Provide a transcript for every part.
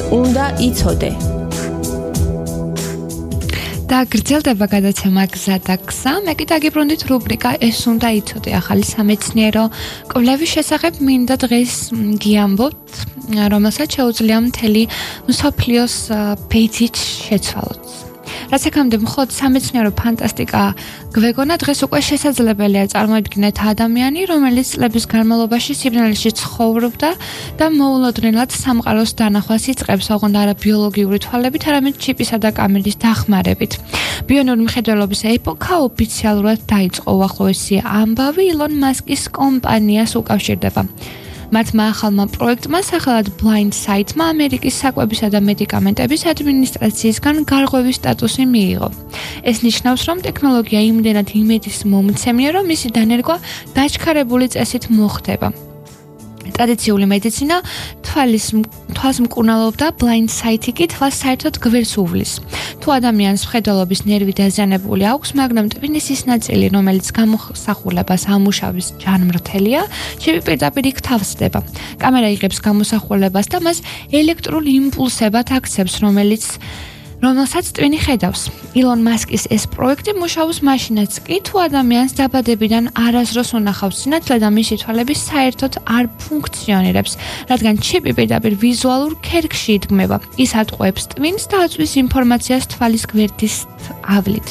უნდა იცოდე. და გრძელდება გადაცემა გზა და გზა. მე კი დაგიბრუნდით რუბრიკა ეს უნდა იცოდე ახალი სამეცნიერო კვლევის შესახებ მინდა დღეს გიამბობთ, რომელსაც შეუძლია მთელი მსოფლიოს ბეძით შეცვალოთ. რაც აქამდე მხოლოდ სამეცნიერო ფანტასტიკა გვეგონა, დღეს უკვე შესაძლებელია წარმოიდგინეთ ადამიანი, რომელიც წლების განმავლობაში სიბნელეში ცხოვრობდა და მოულოდნელად სამყაროს დანახვას იწყებს, ოღონდ არა ბიოლოგიური თვალებით, არამედ ჩიპისა და კამერის დახმარებით. ბიონური მხედველობის ეპოქა ოფიციალურად დაიწყო. უახლოესი ამბავი ილონ მასკის კომპანიას უკავშირდება. მათმა ახალმა პროექტმა სახელად Blindsight-მა ამერიკის საკვებისა და მედიკამენტების ადმინისტრაციისგან გარღვევის სტატუსი მიიღო. ეს ნიშნავს, რომ ტექნოლოგია იმდენად იმედის მომცემია, რომ მისი დანერგვა დაჩქარებული წესით მოხდება. ტრადიციული მედიცინა თვალს მკურნალობდა, Blindsight-ი კი თვალს საერთოდ გვერდს უვლის. თუ ადამიანს მხედველობის ნერვი დაზიანებული აქვს, მაგრამ ტვინის ის ნაწილი, რომელიც გამოსახულებას ამუშავის ჯანმრთელია, ჩიპი პირდაპირ იქ თავსდება. კამერა იღებს გამოსახულებას და მას ელექტრულ იმპულსებად აქცევს, რომელსაც ტვინი ხედავს. ილონ მასკის ეს პროექტი მუშაობს მაშინაც კი, თუ ადამიანს დაბადებიდან არასდროს უნახავს სინათლე და მისი თვალები საერთოდ არ ფუნქციონირებს, რადგან ჩიპი პირდაპირ ვიზუალურ ქერქში იდგმება. ის ატყუებს ტვინს და აწვის ინფორმაციას თვალის გვერდის ავლით.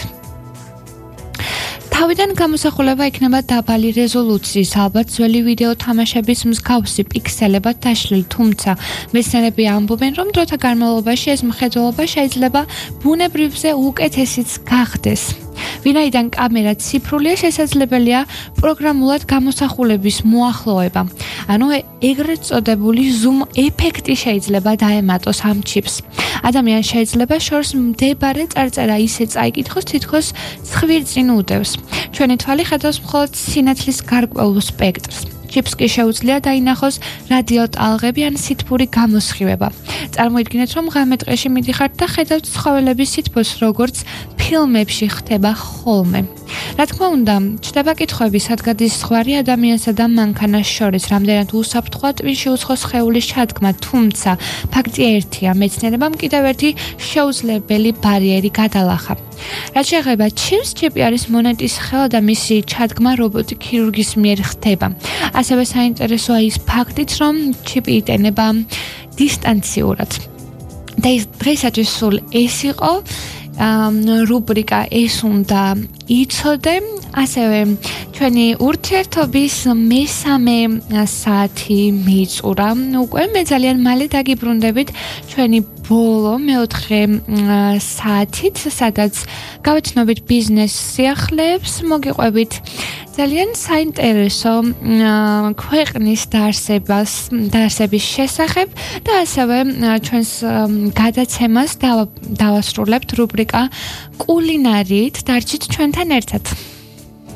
თავიდან გამოსახულება იქნება დაბალი რეზოლუციის, ალბათ ძველი ვიდეო თამაშების მსგავსი პიქსელებად დაშლილი, თუმცა მეცნიერები ამბობენ, რომ დროთა განმავლობაში ეს მხედველობა შეიძლება ბუნებრივზე უკეთესიც გახდეს. ვინაიდან კამერა ციფრულია, შესაძლებელია პროგრამულად გამოსახულების მოახლოება. ანუ ეგრეთ წოდებული zoom ეფექტი შეიძლება დაემატოს ამ ჩიპს. ადამიანს შეიძლება შორს მდებარე წარწერა ისე წაიკითხოს, თითქოს ცხვირწინ უდევს. ჩვენი თვალი ხედავს მხოლოდ სინათლის გარკვეულ სპექტრს. ჩიპს კი შეუძლია დაინახოს რადიოტალღები ან სითბური გამოსხივება. წარმოიდგინეთ, რომ ღამე ტყეში მიდიხართ და ხედავთ ცხოველების სითბოს, როგორც ფილმებში ხდება ხოლმე. რა თქმა უნდა, ჩდება კითხვები, სად გადის ზღვარი ადამიანსა და მანქანას შორის, რამდენად უსაფრთხოა ტვინში უცხო სხეულის ჩადგმა, თუმცა ფაქტია ერთია, მეცნიერებამ კიდევ ერთი შეუძლებელი ბარიერი გადალახა. რაც შეეხება ჩიპს, ჩიპი არის მონეტის ხელა და მისი ჩადგმა რობოტი ქირურგის მიერ ხდება. ასევე საინტერესოა ის ფაქტიც, რომ ჩიპი იტანება დისტანციურად. და დღეისათვის სულ ეს იყო რუბრიკა ეს უნდა იცოდე, ასევე ჩვენი ურთიერთობის მესამე საათი მიწურა. უკვე მე ძალიან მალე დაგიბრუნდებით ჩვენი ბოლო მეოთხე საათით, სადაც გავეცნობით ბიზნეს სიახლეებს, მოგიყვებით ძალიან საინტერესო ქვეყნის დაარსების შესახებ და ასევე ჩვენს გადაცემას დავასრულებთ რუბრიკა კულინარიით. დარჩით ჩვენთან ერთად.